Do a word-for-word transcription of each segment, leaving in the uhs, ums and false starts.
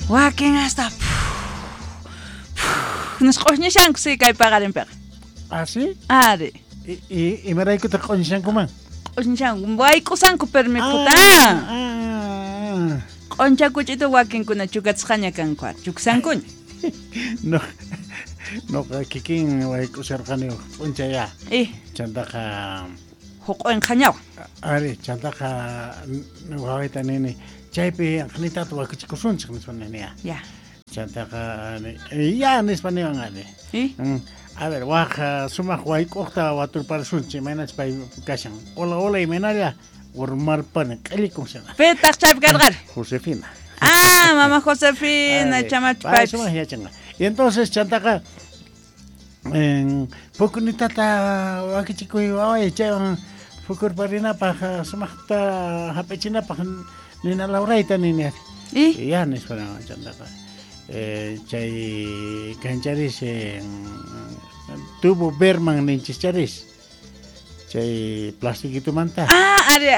Wakin hasta nisq'uñishanku si kay paqarinpiqa. Ah, sí? Ari. Y y imaraykutaq q'uñishankuman? Q'uñishanku wayk'usanku permiputa. Ah. Q'unchakuch'itu wakinkuna chukachisqaña kanku, chuksankuña. No. Noqa kikin wayk'usharqani p'unchay ya. Eh. Chantaqa huq'uinqañawan. Ari, chantaqa wawayta nini chaypi anqanitata wakichikusunchik nispa nini ya. Ya. Chantaqa ya nispa niwan ari. Eh? A ver, waj sumaq wayk'uqta waturparisunchik imaynachus pay kashan. Hola, hola imaynalla urmarpani q'illikun shana. Pitaq chaypi karqari? Josefina. Ah, mamá Josefina, chamachu pay. Sumaq yachanqa. Y entonces chantaqa en pukunitata wakichikuy waway chaywan pukurparinapaq sumaqta hap'ichinapaq nina lawrayta nini ari. ¿Y? Ya nispa chantaqa eh, chay kancharis eh, tubo Berman ninchis charis chay plastiquitumanta. Ah, ari.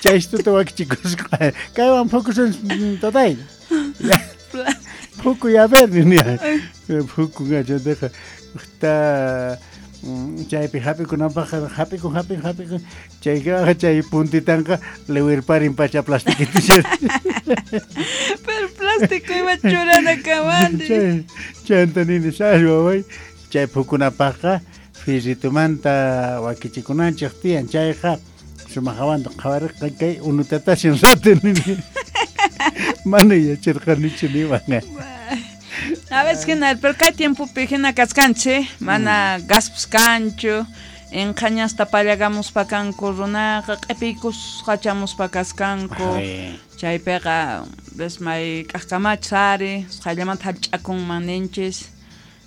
Chay istuta wakichikusqa kaywan pukusun tatay. Puku ya ver nini ari. Pukunqa chantaqa ta chaypi hap'ikunapaq hap'ikun hap'ikun hap'ikun chayqa chay puntitanqa liwirparin pacha plastiquito. Pero plástico iba churana kamandi. Chanta nini sas waway chay pukunapaqqa firritumanta wakichikunanchik tiyan chayqa sumaqawanta qhawariqa kay unutatashin rato nini. Mana yacharqanichu niwan. A veces hina, pero kay tiempopi hina kaskanchik, mana gaspis kanchu, inqañasta pallagamuspa kanku runaqa, q'ipiykusqa chamuspa kaskanku. Chaypiqa ves may k'ajkamachis ari, qayllamanta hallch'akunman ninchis.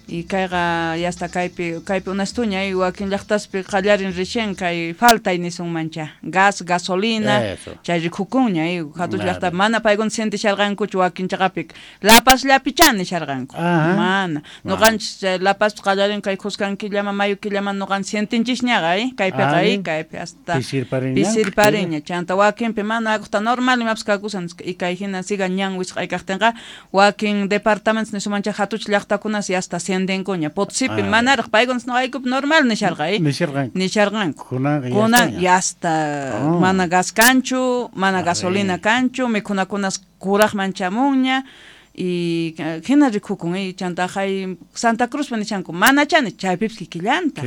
Y kayqa ya hasta kaypi kaypi unastuña y wakin llaqtaspi qallarin recién kay faltay nisunmancha gas, gasolina, chay rikukunña y hatuch llaqtapi mana paykuna sientisharqankuchu wakin chaqapi La Pazllapichá nisharqanku. Mana nuqanchis La Pazpi qallarin kay khuskan killaman mayo killaman nuqan sientinchisñaqa eh kaypiqa eh kaypi hasta pisirpariña chanta wakinpi mana akuta normal imapas kakusan y kay hina siga ñan wisq'ay kaqtinqa wakin departamentos nisunmancha hatuch llaqtakunas y hasta sientenkuña Potosipi manaraq paykunas nuqaykupi normal nisharqa eh nisharqanku kunan ya hasta mana gas kanchu mana gasolina kanchu mikhunakunas kuraqman chamunña y hina rikukun eh chanta hay Santa Cruzpi nishanku manachani chaypipis kikillanta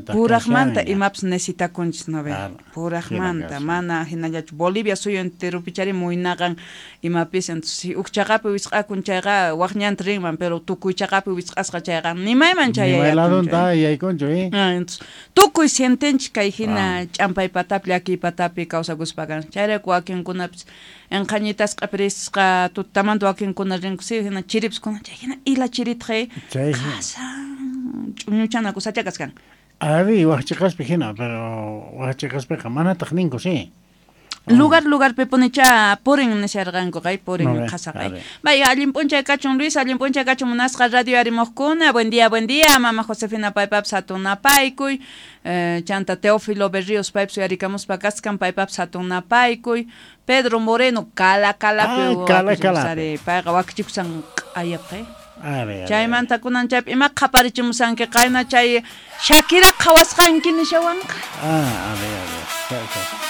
puraqmanta imapas necesitakunchis no ve puraqmanta mana hinallachu Bolivia suyu enteropichari muynaqan imapis entonces huk chaqapi wisq'akun chayqa waq ñanta rinman pero tukuy chaqapi wisq'asqa chayqa nimayman chayayatun yaykunchu eh entonces tukuy sientenchik kay hina ch'ampay patapi llakiy patapi kawsakuspa kan chayrayku wakinkunapis enqañitasqa q'ipirisqa tutamanta wakinkuna rinku si hina chiripis kuna chay hina ila chiritqa qasan ch'uñuchana kusacha kaskan. Ari waqchiqaspi hina pero waqchiqaspiqa manataq ninku si. Lugar lugarpi punicha purin nisharqanku kay purin qhasaqay. Vaya allin p'unchay kachun Luis, allin p'unchay kachun munasqa radio arimuqkuna. Buen día, buen día, mama Josefina paypapas hatunapaykuy. Eh, chanta Teófilo Berríos paypas uyarikamuspa kaskan paypapas hatunapaykuy. Pedro Moreno kala kalapi ah, kala kala. Payqa wakichikusan q'ayapqa. Chaymanta kunan chaypi ima qhaparichimusanki qayna chay Shakira qhawasqanki nishawanqa. Ah, a ver, a ver.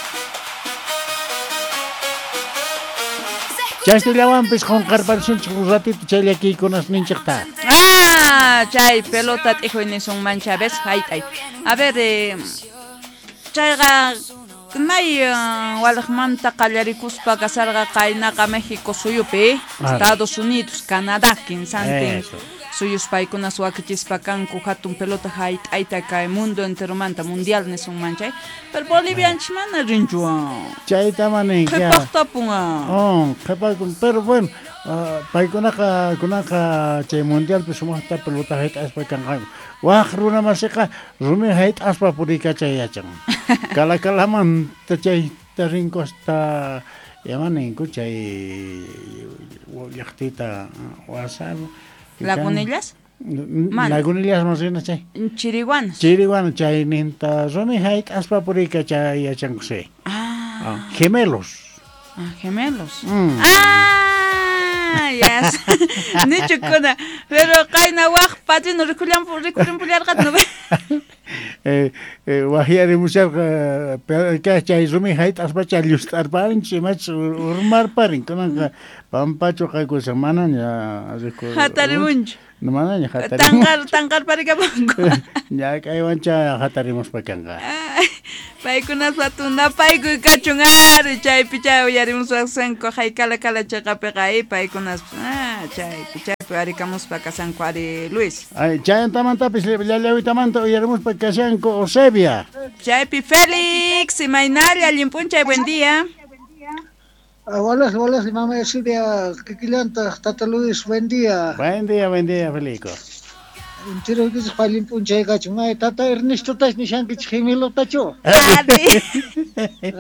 Chaystullawanpis qunqarparisunchik un ratito chay llakiykunasninchikta. Ah, chay pelota t'ijuy nisunmancha ves hayt'ay. A ver, eh, chayqa may walaqmanta qallarikuspa kasarqa qaynaqa México suyupi, Estados Unidos, Canadá, kinsantin suyus paykunas wakichispa kanku hatun pelota hayt'ayta kay mundo enteromanta mundial nisunman chay. Pero Bolivianchis mana rinchu. Chayta manin qhipaqtapunqa. Oh, qhipakun, pero bueno, uh, paykunaqa kunaqa chay mundialpi sumaqta pelota hayt'aspa kanqanku. Waq runa masiqa rumi hayt'aspa puriykachay yachan. Kala kalamanta chayta rinku hasta yamaninku chay llaqtita wasar. Lagunillas? Lagunillas más rina chay. Chiriguanos. Chiriguanos chay ninta rumi hayt'aspa puriykachay yachanku sí. Ah. Ah, gemelos. Ah, gemelos. Mm. Ah, ya Nichukuna pero qayna waj padrino rikullampu rikurimpularqata no. Eh eh wahyarimusharqa chay rumi hayt'aspacha llust'arparinchik imachus urmarparin kunanqa pampachu qaykushan manaña riku hatarimunchu manaña hatarimun tanqar tanqarparikapunku ñak'aywancha hatarimuspa kanqa paykunaspa tunapaykuy kachun ari chaypi chay uyarimuswaqsanku haykala kala chayqapiqa ay paykunaspa ah chaypi chaypi arikamuspa kasanku ari Luis ay chayantamantapis llallawitamanta uyarimuspa kashanku Eusebia chaypi Félix imaynalla allin p'unchay buen día. Hola, hola, mamá Eusebia, kikillanta, Tata Luis, buen día. Buen día, buen día, Felico. Entero que se allin p'unchay kachun. Ay, Tata Ernesto tas nishankichik gemelotachu. Ari.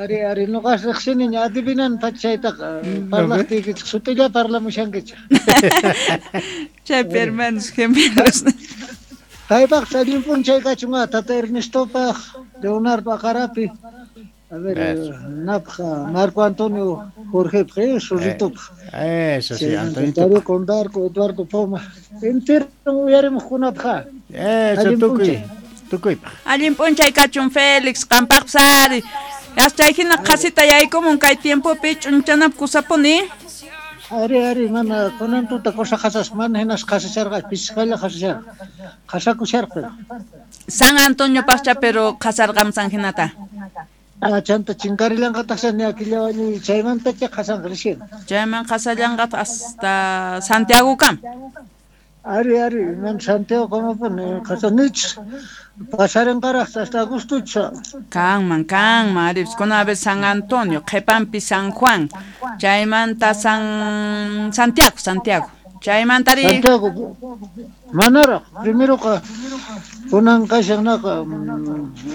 Ari, ari, noqas riqsiniña adivinan pachaytaqa parlaqtiykichik sutilla parlamushankichik. Chaypi hermanos gemelos. Paypaq allin p'unchay kachun, Tata Ernestopaq, Leonardo Aqarapi. A ver, napqa Marco Antonio Jorge Zorritopaq. Eso sí, Antonio. Darío Condarco, Eduardo Poma. Entero uyarimuqkunapaq. Eso tukuy, tukuypaq. Allin p'unchay kachun Félix, qampaqpas ari. Chay hina qhasita yaykumun kay tiempopi ch'unchanap kusapuni. Ari, ari, mana kunan tuta cosa qhasas, mana hinas qhasacharqa, pisqalla qhasacharqa. Qhasakusharqa. San Antonio paqcha pero qhasarqam San hinata. Ah, chanta chinkarillanqataq ni aquilla chaymantacha qhasanqa recién. Chayman qhasallanqataq hasta Santiago kam. Ari, ari, man Santiago como pone qhasanich pasarenqaraq hasta agostocha. Kanman, kanman, ari, kuna vez San Antonio, qhipanpi San Juan, chaymanta San Santiago, Santiago. Chaymantari Santiago. Manaraq, primero qa kunan kashannaqa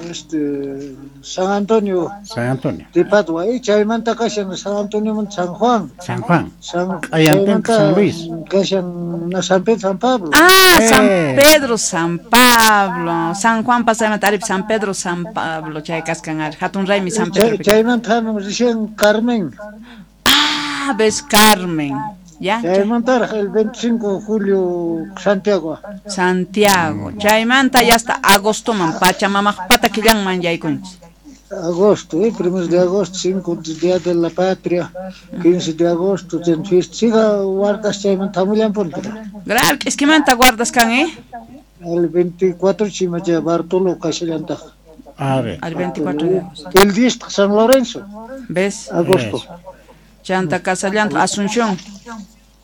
este San Antonio. San Antonio. De Padua, eh, chaymanta kashan San Antonio San Juan. San Juan. San San Luis. Kashan San Pedro San Pablo. Ah, eh. San Pedro San Pablo. San Juan pasaymanta ari San Pedro San Pablo chay kaskan ari hatun raymi San Pedro. Chaymanta hamun recién Carmen. Ah, ves Carmen. Ya. Chaymanta el veinticinco de julio Santiago. Santiago. Chaymanta ya hasta agosto man Pachamama pata killanman yaykunchik. Agosto, eh, primero de agosto, cinco día de la patria, quince de agosto, ten fiesta. Siga guardas chaymanta hamullanpuni. Grave, es que manta guardas kan, eh? El veinticuatro chimacha Bartolo kashallantaj. A ver. Al veinticuatro de agosto. El diez San Lorenzo. ¿Ves? Agosto. Chanta Casallanta, Asunción.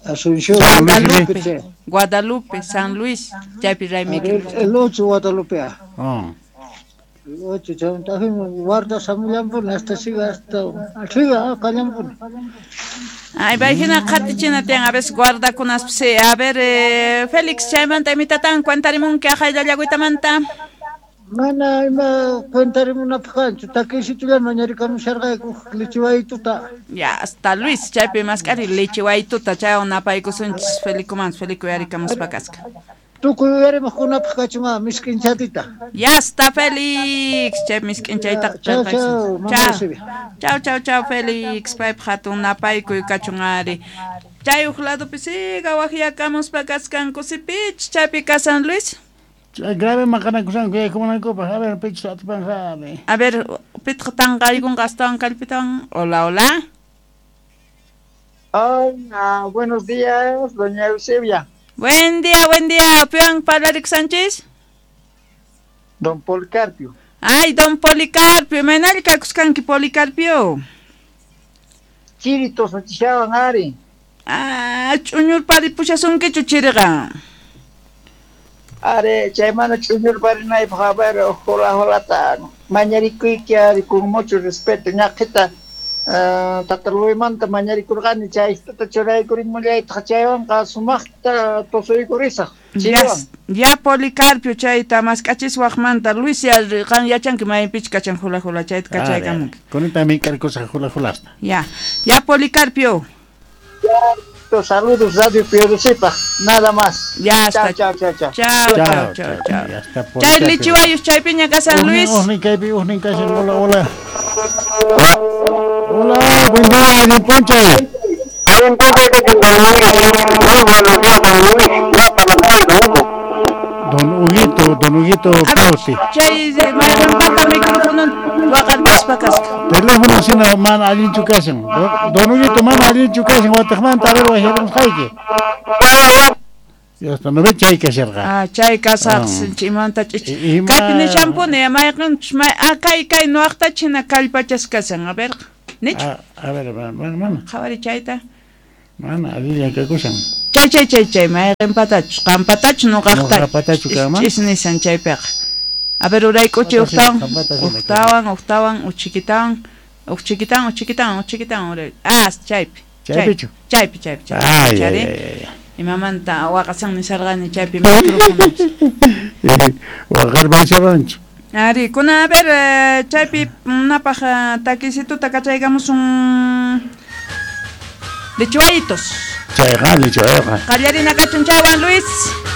Asunción, Guadalupe, Guadalupe, San Luis, chaypi raymi. El, el ocho Guadalupe. Oh. El ocho chanta guarda samullanpuni hasta siga hasta siga kallanpuni. Ay, vayhina qhatichina tiyan a veces guardakunas a ver eh, Félix chaymanta imitatan cuentarimunki aqayllallaguitamanta. Mana ima cuentarimunapaq takisitulla mañarikamusharqayku lichiwaytuta. Ya, hasta Luis chaypi mask'ari lichiwaytuta chaywan napaykusunchis Felicoman Felico uyarikamuspa kasqa. Tukuy uyarimuqkunapaq kachun misk'inchatita. Ya está Félix, chay misk'inchaytaqa chao chao chao chao chao Félix, paypaq hatun napaykuy kachun ari. Chay uq ladopi siga waqyakamuspa kasqanku sipich chaypi kasan Luis. Grave maqanakusanku yaykumunankupas. A ver, pichus atipanqa. A ver, pitqa tanqaykunqa astawan kallpitawan. Hola, hola. Hola, buenos días, doña Eusebia. Buen día, buen día. ¿Pian Parlarico Sánchez? Don Policarpio. Ay, don Policarpio, imaynalla kakusqanki Policarpio. Chiri tosachishawan ari. Ah, ch'uñurparipuchasunkichu chiriqa. Are, chaymana ch'uñurparinaypaq, a ver, hola, holata mañarikuyki ari con mucho respeto, ñaqhita uh, Tata Luismanta mañarikurqani chaytata churaykurimullaytaq chaywanqa sumaqta tusuykurisaq. Ya, ya Policarpio chayta mask'achiswaqmanta Luis ya qan yachanki maypichu kachan hula hula chayta kachaykamunki. Kunita mink'arkusaq hula hulasta. Ya, ya Policarpio. Ya, saludos Radio Piodosipaj, nada más. Ya está. Chao, chao, chao. Chao, chao, chao, chao. Chay lichiwayus chaypiña ka San Luis. Ujnin kaypi, ujnin kashan, hola, hola. Hola, buen día, allin p'unchay. Don Huguito, Don Huguito Pauti. Chay mayqanpata micrófono waqarpaspa kasqa. Teléfono sina mana allinchu kashan. Don Huguito mana allinchu kashan wataqmanta a ver wajyamusqayki. Ya está, no ve chay kasharqa. Ah, chay kasaq imanta ch'ich. Kaypi nishanpuni mayqanchus may ah kay kay nuwaqta china kallpachas kashan, a ver. Nichu? A ver, mana mana. Qhawari chayta. Mana allinlla kakushan. Chay chay chay chay mayqanpatachus qanpatachus nuqaqta. Nuqapatachu kanman. Ch'is nishan chaypiqa. A ver urayk'uchi uqtawan, uqtawan, uqtawan, uchikitawan, uchikitawan, uchikitawan, uchikitawan uray. Ah, chaypi. Chaypichu. Chaypi, chaypi, chaypi. Ay, ay, ay. Imamanta waqasan nisarqani chaypi micrófono. Waqarpasharanchu. Ari, kuna a ver chaypi napaj takisituta kachaykamusun lechuayitos. Chayqa lechuayqa. Qallarina kachun chaywan Luis.